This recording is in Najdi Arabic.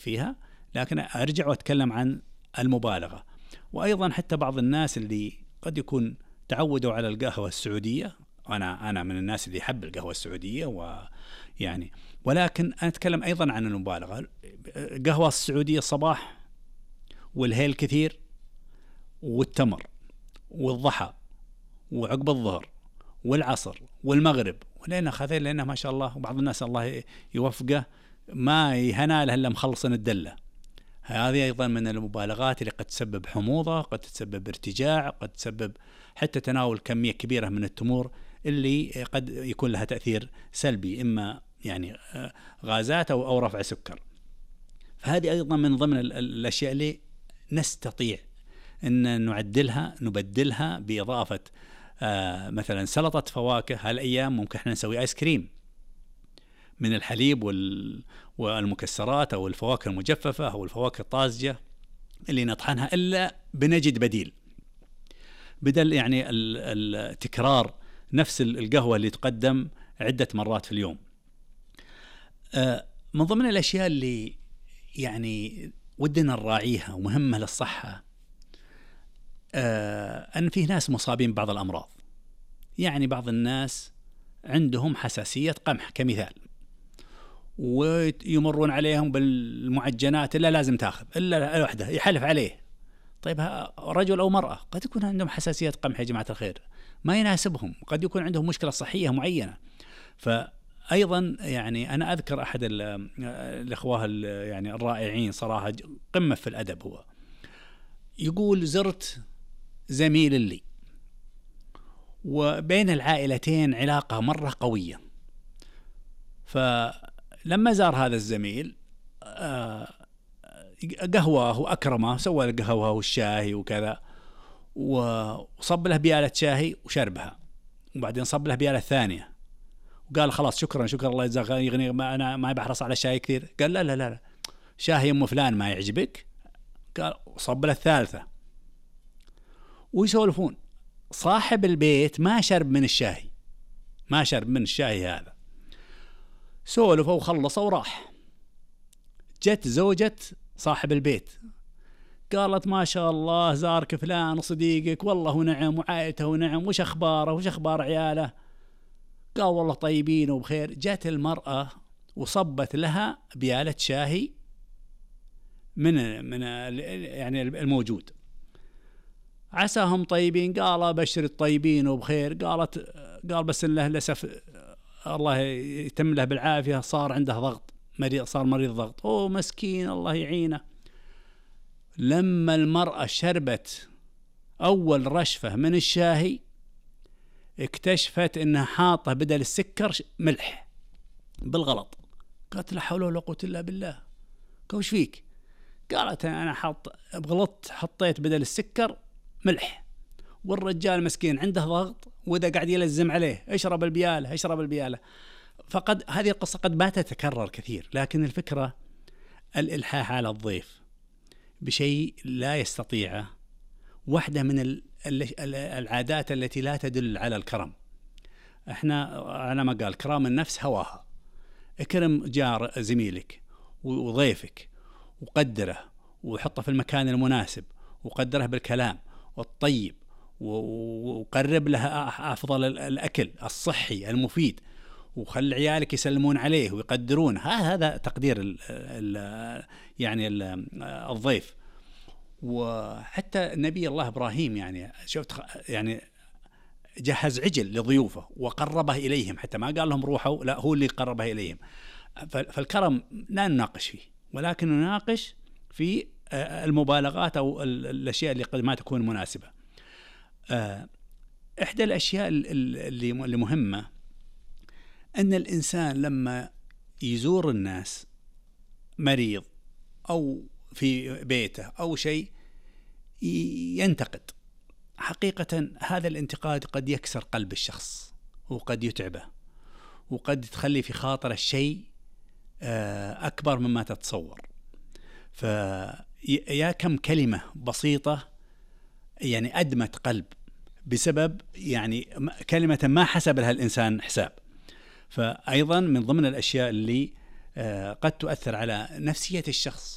فيها، لكن أرجع وأتكلم عن المبالغة. وأيضا حتى بعض الناس اللي قد يكون تعودوا على القهوة السعودية، أنا من الناس اللي يحب القهوة السعودية ويعني، ولكن أنا أتكلم أيضا عن المبالغة. القهوة السعودية الصباح والهيل كثير والتمر والضحى وعقب الظهر والعصر والمغرب، ولأن خذين لأنه ما شاء الله، وبعض الناس الله يوفقه ما يهنا له إلا مخلصن الدلة. هذه أيضا من المبالغات اللي قد تسبب حموضة، قد تسبب ارتجاع، قد تسبب حتى تناول كمية كبيرة من التمور اللي قد يكون لها تأثير سلبي، إما يعني غازات أو رفع سكر. فهذه أيضا من ضمن الأشياء اللي نستطيع أن نعدلها، نبدلها بإضافة مثلا سلطة فواكه. هالأيام ممكن احنا نسوي آيس كريم من الحليب والمكسرات أو الفواكه المجففة أو الفواكه الطازجة اللي نطحنها، إلا بنجد بدل يعني التكرار نفس القهوة اللي تقدم عدة مرات في اليوم. من ضمن الأشياء اللي يعني ودنا نراعيها ومهمة للصحة، أن فيه ناس مصابين ببعض الأمراض. يعني بعض الناس عندهم حساسية قمح كمثال، ويمرون عليهم بالمعجنات إلا لازم تأخذ إلا الوحدة، يحلف عليه. طيب رجل أو مرأة قد يكون عندهم حساسية قمح يا جماعة الخير، ما يناسبهم، قد يكون عندهم مشكلة صحية معينة. فأيضا يعني أنا أذكر أحد الإخوة يعني الرائعين صراحة، قمة في الأدب، هو يقول: زرت زميل لي وبين العائلتين علاقة مرة قوية، فلما زار هذا الزميل قهوة وأكرمه، سوى القهوة والشاي وكذا، وصب له بيالة شاي وشربها، وبعدين صب له بيالة ثانية وقال: خلاص شكرا الله يجزاك، يغني، ما أنا ما بحرص على شاي كثير. قال: لا شاي أم فلان ما يعجبك؟ قال: صب له الثالثة. ويسولفون. صاحب البيت ما شرب من الشاي هذا، سولفوا وخلصوا وراح. جت زوجة صاحب البيت قالت: ما شاء الله زارك فلان صديقك، والله ونعم، وعائلته ونعم، وش أخباره، وش أخبار عياله؟ قال: والله طيبين وبخير. جت المرأة وصبت لها بيالة شاي من يعني الموجود. عساهم طيبين. قال: بشر الطيبين وبخير. قال: بس للأسف الله يتم له بالعافية، صار عنده ضغط، صار مريض ضغط. مسكين الله يعينه. لما المرأة شربت أول رشفة من الشاي اكتشفت إنها حاطة بدل السكر ملح بالغلط. قالت: لا حول ولا قوة إلا بالله. وش فيك؟ قالت: أنا بغلطت، حطيت بدل السكر ملح. والرجال مسكين عنده ضغط، وإذا قاعد يلزم عليه اشرب البيالة. فقد هذه القصة قد ما تتكرر كثير، لكن الفكرة الإلحاح على الضيف بشيء لا يستطيعه واحدة من العادات التي لا تدل على الكرم. احنا على ما قال كرام النفس هواها. اكرم جار زميلك وضيفك، وقدره وحطه في المكان المناسب، وقدره بالكلام والطيب، وقرب له أفضل الأكل الصحي المفيد، وخلي عيالك يسلمون عليه ويقدرون. هذا تقدير يعني الضيف. وحتى نبي الله إبراهيم يعني شفت يعني جهز عجل لضيوفه وقربه إليهم، حتى ما قال لهم روحوا، لا هو اللي قربه إليهم. فالكرم لا نناقش فيه، ولكن نناقش في المبالغات أو الأشياء اللي قد ما تكون مناسبة. إحدى الأشياء اللي مهمة أن الإنسان لما يزور الناس مريض أو في بيته أو شيء ينتقد. حقيقة هذا الانتقاد قد يكسر قلب الشخص، وقد يتعبه، وقد تخلي في خاطر الشيء أكبر مما تتصور. فيا كم كلمة بسيطة يعني أدمت قلب بسبب يعني كلمة ما حسب لها الإنسان حساب. فأيضا من ضمن الأشياء اللي قد تؤثر على نفسية الشخص